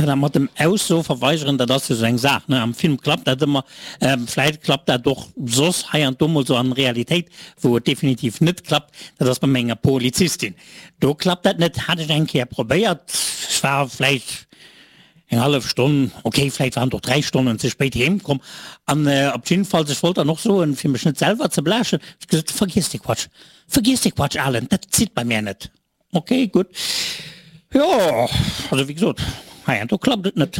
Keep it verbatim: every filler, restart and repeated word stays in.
Tja, dat mat dem Ausso verweigeren, dat ass jo sou eng Saach, ne? Am Film klappt dat ëmmer, vläit klappt dat och soss hei an do mol sou an Realitéit. Wou et definitiv net klappt, dat ass bei menger Polizistin. Do klappt dat net, hat ech eng Kéier probéiert, ech war vläicht eng hallef Stonn, ok, vläicht waren et och dräi Stonnen ze spéit heem komm an op jiddefalls, ech wollt dann och soen, fir mech net selwer ze bläschen, ech gesot, vergiess dee Quatsch, vergiess dee Quatsch, Alen, dat zitt bei mär net. Ok, gutt. Jo, also wéi gesot, heiansdo klappt et net.